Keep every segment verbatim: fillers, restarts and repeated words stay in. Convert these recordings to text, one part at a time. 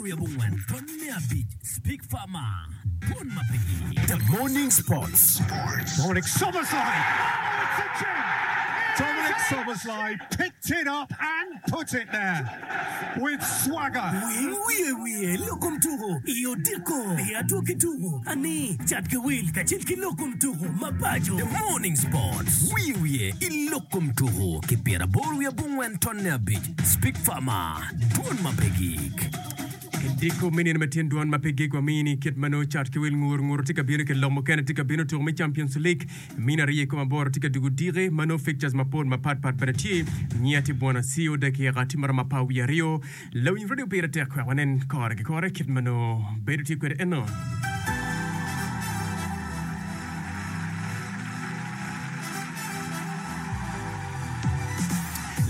Pyeraboro wiye abongwen tonne abic Speak Farmer Dwon ma pe gik. The Morning Sports. Dominic Szoboszlai! Oh, it's a gem! Dominic Szoboszlai picked it up and put it there with swagger. Winy wiye wiye lok kom tuko i odiko i adwogi tuko ani cat ki wil kacel ki lok kom tuko mapaco. The Morning Sports. Wiye wiye i lok kom tuko ki pyeraboro wiye abongwen tonne abic Speak Farmer Dwon ma pe gik. Diko me nino ma tyen dwon ma pe gik wamini kit ma nongo cat ki wil ngur ngur tye ka bino ki lok mukene tye ka bino tuko me Champions League mine aryo i kom aboro tye ka dugo diki ma nongo fixtures mapol mapat pat bene tye nyiya tye bwana C O dakika tye maromo apar wiye aryo lawiny radio pire tek wek wanen kore ki kore kit ma nongo bedo tye kwede eno.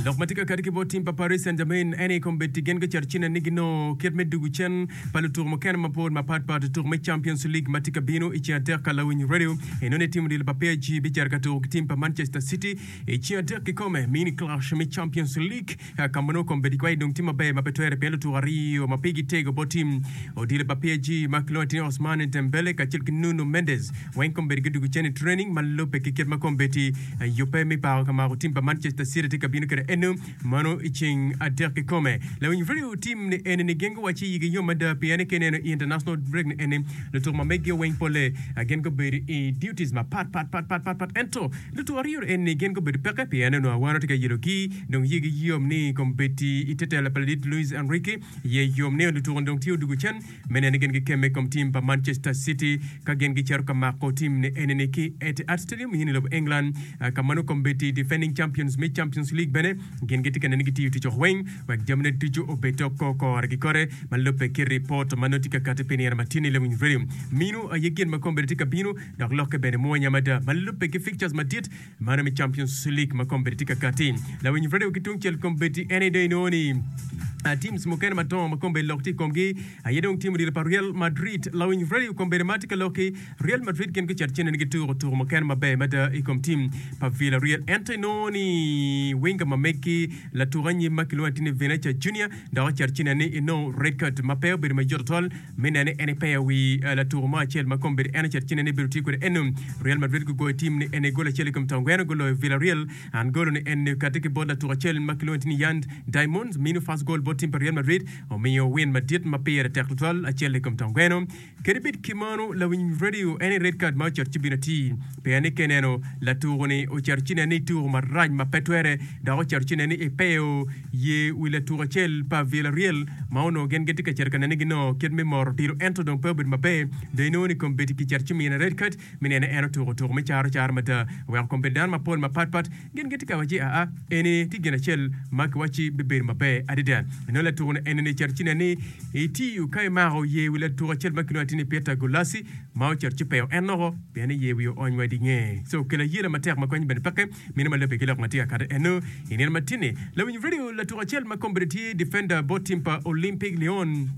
Lok ma tye ka kati ki bot tim pa Paris Saint-Germain en aye kombeddi gin gucito cine ni ginongo kit me dugo cen pa lutuko mukene mapol mapat pat i tuko me Champions League ma tye ka bino i ceng adek ka lawiny radio eno ni tim odilo pa P S G bicito ka tuko ki tim pa Manchester City i ceng adek kikome mini clash me Champions League ka ma nongo kombeddi kwayi dong tye maber ma pe twere pien lutuko aryo ma pigi tego bot tim odilo pa P S G ma kilwongo ni Ousmane Dembele kacel ki Nuno Mendes weng kombeddi gudugo cen i training ma lubbe ki kit ma kombeddi yubbe me pako ka mako tim pa Manchester City tye ka bino kwede eno mano i ceng adek kikome. Lawiny radio tim ni eni ni gin guwaci yigi yom mada pien ka ineno i international break ni eni lutuko ma meggi weng pole gin gubedo i duties mapat pat pat pat pat pat ento lutuko aryo eni gin gubedo peke pien onongo awano tye ka yelogi dong yigi yom ni kombeddi i te telo pa ladit Luis Enrique ye yom ni lutuko dong tye odugo cen me neno ni gin gikemme i kom tim pa Manchester City ka gin gicito ka mako tim ni eni ni ki Etihad Stadium i lobo England ka ma nongo kombeddi defending champions me Champions League bene gin gitye ka neno ni gitiyo tic weng wek jamine ducu obed oko kore ki kore ma lubbe ki ripot ma nongo tye ka kati pi nino ma tye ni lawiny radio mino aye gin ma kombeddi tye ka bino dok lokke bene mwonya mada ma lubbe ki fixtures madit mano me Champions League ma kombeddi tye ka kati lawiny radio ki tung cel kombeddi en aye dong inongo ni uh, teams mukene madongo ma kombeddi lok tye i komgi aye dong tim odilo pa Real Madrid lawiny radio kombeddi ma tye ka loki Real Madrid gin gucito cene ni gituko tuko mukene maber mada i kom tim pa Villarreal ento inongo ni winger ma megi latuko anyim ma kilwongo ni Vinicius Junior dok ocito cene ni inongo red card ma pe obedo mayot tutwal me nene en ipeyo wi uh, latuko mo acel ma kombeddi en ocito cene ni bedo tye kwede eno Real Madrid gugoyo tim ni en gol acel i kom tongweno guloyo Villarreal an golo ni en kati ki bot latuko acel ma kilwongo ni Yan Diamonds mino first goal bot tim pa Real Madrid omiyo win madit ma pire tek tutwal acel i kom tongweno kadi bed ki mano lawiny radio en red card ma ocito ci bino ti pien ni keneno latuko ni ocito cine ni tuko marac ma pe twere dok ocito cine ni ipeyo ye wi latuko acel pa Villarreal ma onongo gin gitye ka cito ka nene ginongo kit me moro odilo ento dong pe obedo maber dong inongo ni kombeddi kicito ci mine red card mi nene en otuko tuko me caro caro mada weko kombeddi dano mapol mapat pat gin gitye ka waci aa eni tye gin acel ma kiwaci bibedo maber adada inongo latuko ni eni ni cito cine ni itiyo ka imako ye wi latuko acel ma kilwongo ni Peter Gulasi ma ocito ci peyo en noko pien ni ye wi oony wa dinge so okelo ayela matek ma konyo bene peke mino ma lubbe ki lok ma tye ka kati eno i nino ma tye-ni lawiny radio latuko acel ma kombeddi tye defender bot tim pa Olympic Lyon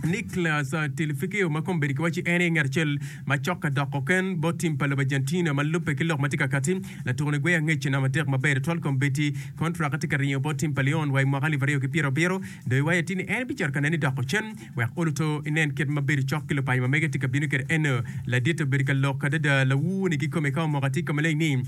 Nicolas uh, Tagliafico ma kombeddi kiwaci en aye ngat acel ma cok ka doko ken bot tim pa lobo Argentina ma lubbe ki lok ma tye ka kati latuko ni gweyo angec namba adek maber tutwal kombeddi contract tye ka ringo bot tim pa Lyon wa i mwaka alip aryo ki pyero abiro dong iwaco tye ni en bicito ka nene ni doko cen wek oluto inen kit ma bedo cok ki lupaco ma mege tye ka bino kwede eno ladit obedo ka lok adada lawuni kikome ka omoko atye ka maleng ni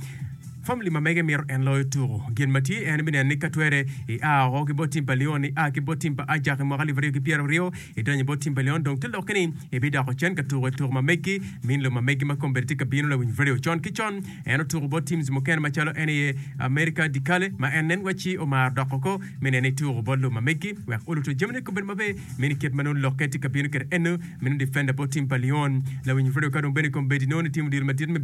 family ma mege mito en loyo tuko gin ma tye en bineno ni ka twere ia oko ki bot tim pa Lyon ia ki bot tim pa Ajax i mwaka alip aryo ki pyero aryo idonyo bot tim pa Lyon dong te lokke ni ibidoko cen ka tuko i tuko ma megi min lo ma megi ma kombeddi tye ka bino lawiny radio con ki con en otuko bot teams mukene macalo en aye America di Cali ma en nen waci omaro doko ko me nene ituko bot lo ma megi wek oluto jamine kobedo maber mini kit ma nongo lokke tye ka bino kwede eno mino defender bot tim pa Lyon lawiny radio ka dong bene kombeddi nongo ni timo deal madit me